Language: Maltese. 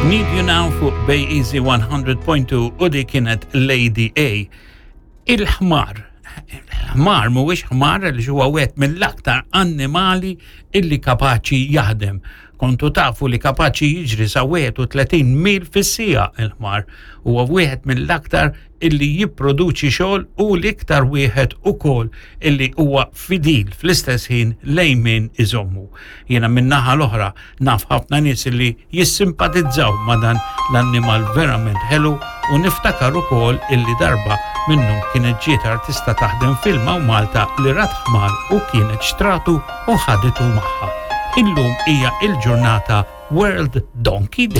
Need You Now fuq Bay Easy 100.2 u di kienet Lady A. Il-ħmar. Il-ħmar mhuwiex ħmar li huwa wieħed mill-aktar annimali illi kapaċi jaħdem. Kontu tafu li kapaċi jiġri sa 31 mil fis-sija il-ħmar. Huwa wieħed mill-aktar illi jipproduċi xogħol u l-iktar wieħed ukoll illi huwa fidil fl-istess ħin lejn min iżommu. Jiena min-naħa l-oħra naf ħafna nies illi jissimpatizzaw ma' dan l-annimal verament ħelu u niftakar ukoll illi darba minnhom kienet ġiet artista taħdem film hawn Malta li rat ħmar u kienet xtratu u ħaditu magħha. Illum hija il-ġurnata World Donkey Day.